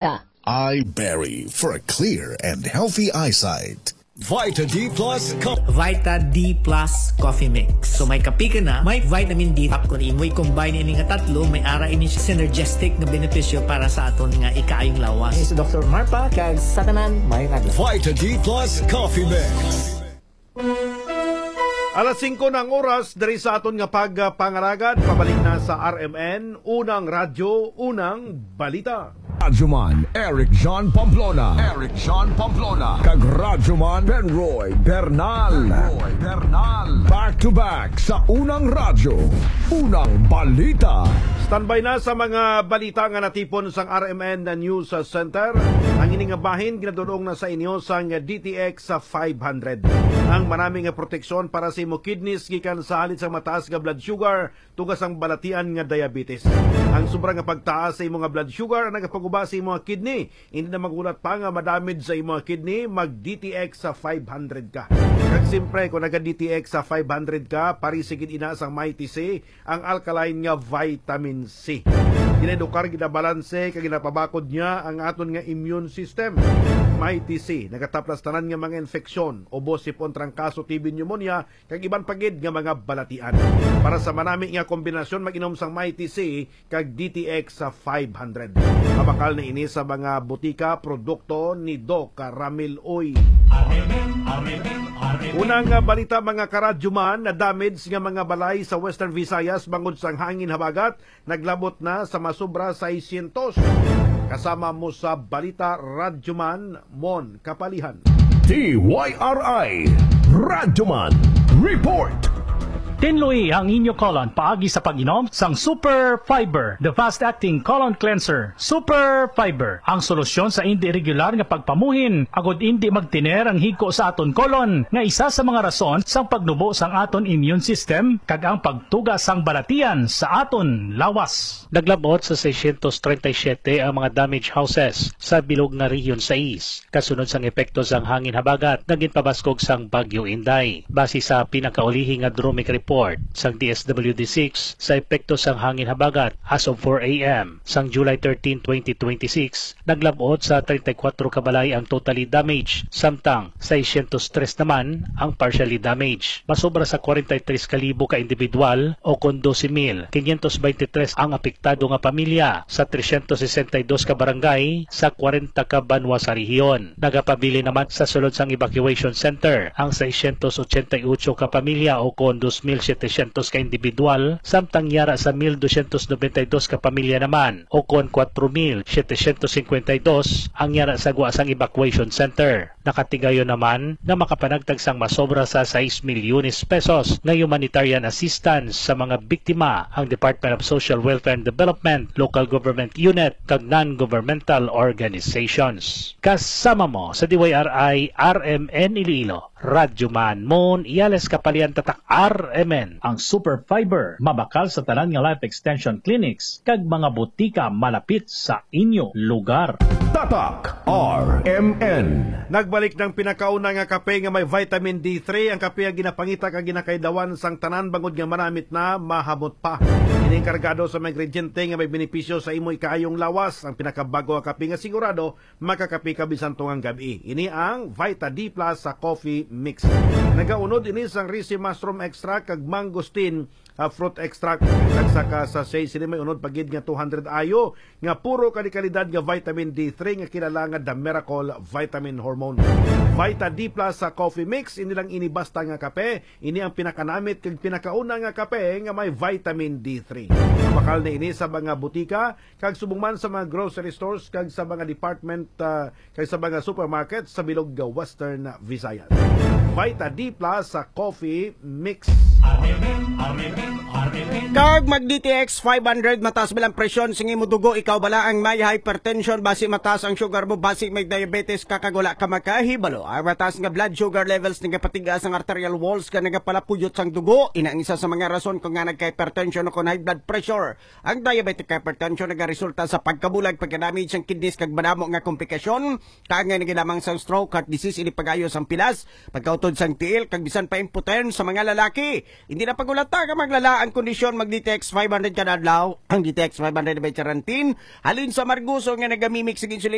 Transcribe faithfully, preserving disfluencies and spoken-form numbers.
Eye Berry for a clear and healthy eyesight. Vita D plus Cup. Vita D plus Coffee Mix. So may kape ka na, may vitamin D. Tapos kung imoy combine ini nga tatlo, may ara ini synergistic nga benepisyo para sa aton nga ikaayong lawas. Ini si Doktor Marpa, kag sa tanan, may nagla. Vita D plus Coffee Mix. Alas singko na ang oras diri sa aton nga pagpangalagad. Pabalik na sa R M N, Unang Radyo, Unang Balita. Radyoman Eric John Pamplona. Eric John Pamplona. Kag Radyoman Benroy Bernal. Benroy Bernal. Back to back sa Unang Radyo, Unang Balita. Standby na sa mga balita nga natipon sang R M N News Center. Ang ini nga bahin ginadul-ong na sa inyo sang D T X five hundred. Ang manami nga proteksyon para sa imo kidneys gikan sa halit sang mataas nga blood sugar, tuga sang balatian nga diabetes. Ang sobra nga pagtaas sa imo nga blood sugar ang nagapaguba sa imo nga kidney. Hindi na maghulat pa nga madamage sa imo nga kidney, mag D T X sa five hundred ka. Kag siyempre, kung naga D T X sa five hundred ka, pari sigid ina sang Mighty C, ang alkaline nga vitamin C. Ginaedukar, ginabalanse, kag ginapabakod niya ang aton nga immune system. Mighty C, nagataplas tanan nga mga infeksyon, ubo, sipon, trangkaso, T B, pneumonia, kag iban pa gid nga mga balatian. Para sa manami nga kombinasyon, mag-inom sang Mighty C kag D T X sa five hundred. Mabakal na ini sa mga butika, produkto ni Doc Ramil Uy. Unang nga balita, mga karadyoman, na damage nga mga balay sa Western Visayas bangod sang hangin habagat naglabot na sa masobra seiscientos. Kasama mo sa balita, Radyoman Mon Kapalihan. D Y R I Radyoman Report. Tinloi ang inyo colon paagi sa pag-inom sang Super Fiber, the fast-acting colon cleanser. Super Fiber, ang solusyon sa indi regular nga pagpamuhin, agud indi magtiner ang higko sa aton colon, nga isa sa mga rason sang pagnubo sang aton immune system kag ang pagtuga sang balatian sa aton lawas. Naglabot sa seiscientos treinta y siete ang mga damaged houses sa bilog nga Region sais, kasunod sang epekto sang hangin habagat nga ginpabaskog sang Bagyo Inday. Base sa pinakaulihi nga DROMIC report sang D S W D six, sa epekto sang hangin habagat, as of four A M sang July thirteen, twenty twenty-six, naglabot sa treinta y cuatro ka balay ang totally damaged, samtang seiscientos tres naman ang partially damaged. Masobra sa kwarenta y tres ka libo ka individual, o kon dose mil quinientos veintitrés ang apektado nga pamilya sa trescientos sesenta y dos ka barangay sa kwarenta ka banwa sa rehiyon. Nagapabilin naman sa sulod sang evacuation center ang seiscientos ochenta y ocho ka pamilya, o kon dos mil setecientos ka individual, samtang yara sa mil doscientos noventa y dos ka pamilya naman, o kon kwatro mil setecientos cincuenta y dos ang yara sa gwa sang evacuation center. Nakatigayon naman nga makapanagtag sang masobra sa sais milyones pesos nga humanitarian assistance sa mga biktima ang Department of Social Welfare and Development, local government unit, kag non-governmental organizations. Kasama mo sa D Y R I R M N Iloilo, Radyo Man Mon Iales Kapalian, Tatak R M N. Ang Super Fiber mabakal sa tanan nga life extension clinics kag mga butika malapit sa inyo lugar. Tatak R M N. Nagbalik ng pinakauna nga kape nga may vitamin D three, ang kape nga ginapangita kag ginakaidawan sang tanan bangod nga manamit na, mahamot pa. Ini ang kargado sa mga ingrediente nga may benepisyo sa imo ikaayong lawas. Ang pinakabago nga kape nga sigurado makakape ka bisan tungang gab-i. Ini ang Vita D Plus sa Coffee Mix. Nagaunod ini sang risi mushroom extract kag mangosteen, ah, fruit extract. Kag sa ka sachet sini may unod pa gid nga two hundred I U nga puro kalikalidad nga vitamin D three nga kilala nga The Miracle Vitamin Hormone. Vita D Plus sa Coffee Mix, hindi lang ini basta nga kape, ini ang pinakanamit kag pinakauna nga kape nga may vitamin D three. Mabakal na ini sa mga butika kag subong man sa mga grocery stores kag sa mga department, ah, kag sa mga supermarket sa bilog nga Western Visayas. Vita D Plus sa Coffee Mix. Kag mag D T X five hundred, mataas ba lang presyon sing imo dugo? Ikaw bala ang may hypertension? Basi mataas ang sugar mo, basi may diabetes ka, kag wala ka makahibalo. Ang mataas nga blood sugar levels nagapatigas ang arterial walls, ka nagapalapuyot sang dugo. Ina ang isa sa mga rason kung nga nagka-hypertension o kon high blood pressure. Ang diabetic hypertension nagaresulta sa pagkabulag, pagkadamage sang kidneys, kag madamo nga komplikasyon, kaangay na gid lamang sang stroke, heart disease, ini pag-ayo sang pilas, pagka tod sang tiil kag bisan pa impotent sa mga lalaki. Hindi na pagulata ka maglala ang kondisyon, mag D T X five hundred kada adlaw. Ang D T X five hundred may charantin halin sa marguso nga nagamimik sa insulin